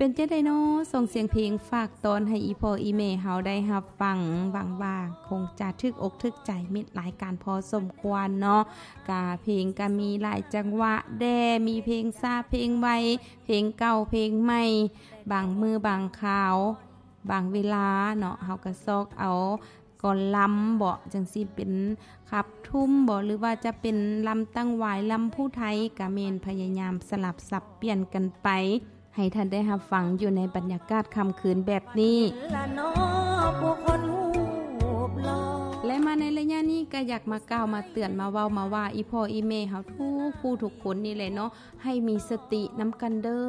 ປັນຈັ່ງໃດເນາະ ສົ່ງສຽງເພງຝາກຕ້ອນໃຫ້ອີ່ພໍ່ອີ່ແມ່ເຮົາໄດ້ຮັບຟັງ ຫວັງວ່າຄົງຈະຖືກອົກຖືກໃຈມິດລາຍການພໍສົມຄວນເນາະ. ກະເພງກະມີຫຼາຍຈັງຫວະແດ່ ມີເພງຊ້າເພງໄວ ເພງເກົ່າເພງໃໝ່ ບາງມື້ບາງຄາວ ບາງເວລາເນາະ ເຮົາກະຊອກເອົາກ່ອນລຳເບາະ ຈັ່ງຊີ້ເປັນຂັບທຸ່ມເບາະ ຫຼືວ່າຈະເປັນລຳຕັ້ງຫວາຍ ລຳຜູ້ໄທ ກະແມ່ນພະຍາຍາມສະຫຼັບສັບປ່ຽນກັນໄປ ໃຫ້ທ່ານໄດ້ຮັບຟັງຢູ່ໃນບັນຍາກາດຄ່ຳຄືນແບບນີ້. ແລະ ມາໃນໄລຍະນີ້ກະຢາກມາກ່າວມາເຕືອນມາເວົ້າມາວ່າ ອີ່ພໍ່ອີ່ແມ່ເຮົາທຸກຜູ້ທຸກຄົນນີ້ແຫຼະເນາະ ໃຫ້ມີສະຕິນຳກັນເດີ້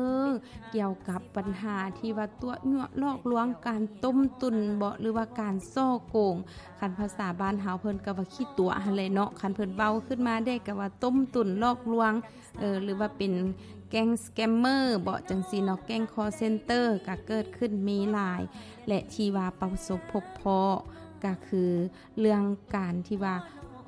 ກ່ຽວກັບບັນຫາທີ່ວ່າຕົວະຍົວະຫຼອກລວງ ການຕົ້ມຕຸນເບາະ ຫຼືວ່າການສໍ້ໂກງ. ຄັນພາສາບ້ານເຮົາເພິ່ນກະວ່າຂີ້ຕົວະຫັ້ນແຫຼະເນາະ ຄັນເພິ່ນເວົ້າຂຶ້ນມາແດ່ກະວ່າຕົ້ມຕຸນຫຼອກລວງ ເອີ ຫຼືວ່າເປັນແກ້ງສະແກມເມີເບາະ ຈັ່ງຊີ້ເນາະ ແກ້ງຄໍເຊັນເຕີກະເກີດຂຶ້ນມີຫຼາຍ ແລະ ທີ່ວ່າປະສົບພົບພໍ້ກະຄືເລື່ອງການທີ່ວ່າ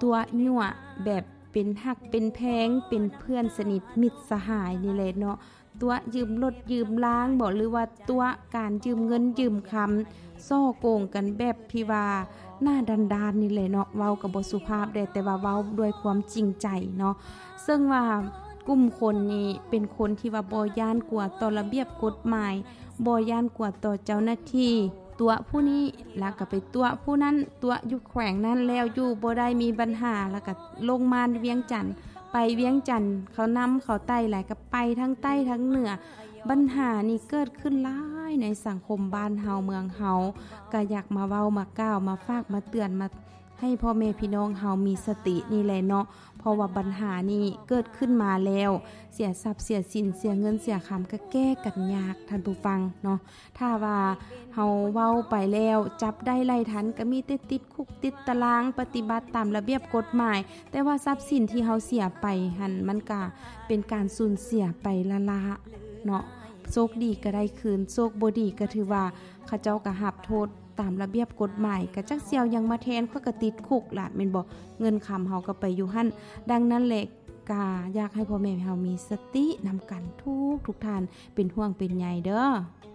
ຕົວະຍົວະແບບເປັນຮັກເປັນແພງ ເປັນເພື່ອນສະໜິດມິດສະຫາຍນີ້ແຫຼະເນາະ ຕົວະຢືມລົດຢືມລາງເບາະ ຫຼືວ່າຕົວະການຢືມເງິນຢືມຄຳ ສໍ້ໂກງກັນແບບທີ່ວ່າໜ້າດ້ານໆນີ້ແຫຼະເນາະ ເວົ້າກະບໍ່ສຸພາບແດ່ ແຕ່ວ່າເວົ້າດ້ວຍຄວາມຈິງໃຈເນາະ. ເຊິ່ງວ່າກຸ່ມຄົນນີ້ເປັນຄົນທີ່ວ່າບໍ່ຢ້ານກົວຕໍ່ລະບຽບກົດໝາຍ ບໍ່ຢ້ານກົວຕໍ່ເຈົ້າໜ້າທີ່ ຕົວະຜູ້ນີ້ ລະກະໄປຕົວະຜູ້ນັ້ນ ຕົວະຢູ່ແຂວງນັ້ນແລ້ວຢູ່ບໍ່ໄດ້ມີບັນຫາ ລະກະລົງມາວຽງຈັນ ໄປວຽງຈັນ ເຂົານຳເຂົາໄຕ້ຫຼາຍ ກະໄປທັງໃຕ້ທັງເໜືອ. ບັນຫານີ້ເກີດຂຶ້ນຫຼາຍໃນສັງຄົມບ້ານເຮົາເມືອງເຮົາ ກະຢາກມາເວົ້າມາກ່າວມາຝາກມາເຕືອນມາໃຫ້ພໍ່ແມ່ພີ່ນ້ອງເຮົາມີສະຕິນີ້ແຫຼະເນາະ ເພາະວ່າບັນຫານີ້ເກີດຂຶ້ນມາແລ້ວ ເສຍຊັບເສຍສິນ ເສຍເງິນເສຍຄຳ ກະແກ້ກັນຍາກ ທ່ານຜູ້ຟັງເນາະ. ຖ້າວ່າເຮົາເວົ້າໄປແລ້ວຈັບໄດ້ໄລ່ທັນ ກະມີແຕ່ຕິດຄຸກຕິດຕະລາງ ປະຕິບັດຕາມລະບຽບກົດໝາຍ ແຕ່ວ່າຊັບສິນທີ່ເຮົາເສຍໄປຫັ້ນ ມັນກະເປັນການສູນເສຍໄປລ້າໆເນາະ ໂຊກດີກະໄດ້ຄືນ ໂຊກບໍ່ດີກະຖືວ່າເຂົາເຈົ້າກະຮັບໂທດຕາມລະບຽບກົດໝາຍ ກະຈັກຊິເອົາຫຍັງມາແທນ ຂ້ອຍກະຕິດຄຸກລະແມ່ນບໍ່ ເງິນຄຳເຮົາກະໄປຢູ່ຫັ້ນ. ດັ່ງນັ້ນແຫຼະ ກະຢາກໃຫ້ພໍ່ແມ່ເຮົາມີສະຕິນຳກັນທຸກໆທ່ານ ເປັນຫ່ວງເປັນໃຍເດີ້.